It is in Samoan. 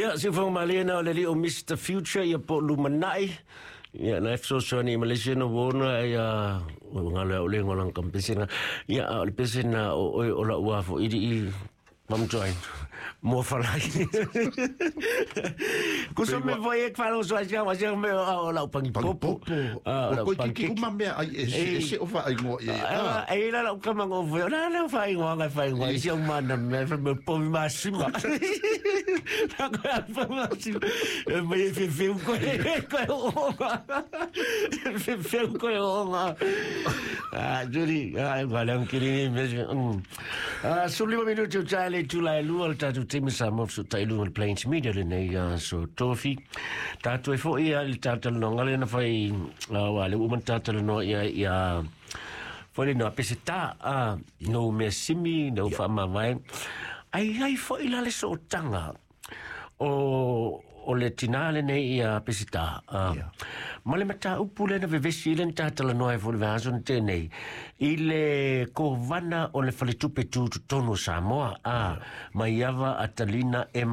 Ia, siufoga malie na o le alii o Mister Future ia po o lumanai. Ia, na e fesoasoani i Malaysia na ua ona ia ua galo ia o le igoa o lana kampesi lena. Ia, a o le pese lena o oe o lau ua foili i Mamjoin. Mua falai. Kusa me foi e whalo so ai wa sia me o lau pangi popo. Ah, o koi kiki uma mea ai e se e se o wha ingoa i. Ah, e la lau kama ngo foi. La la wha ingoa ngai wha ingoa. Isi au mana me fa me povi masima. La ko a fa masima. E mai e fefeu koe koe o. Fefeu koe o. Ah, Judy, ah, wale ang kiri ni me. Ah, 15 minuti o tae le itula e lua o le tatou taimi Samoa fesootai i luga o le Plains Media lenei aso Tofi. Tatou e foi ia i le talatalanoaga lea na fai, aua lea ua uma ona talatalanoa ia ia foi le na Peseta, ah, no mea simi, no faamavae. Ai ai foi la le sootaga o o le tinā lenei ia Peseta, ah, ma le mataupu lea na vevesi ai lea na talatalanoa ai foi i le vaiaso na tea nei, i le kovana o le Faletupe Tutotonu o Samoa, ah, Maiava Atalina Emma.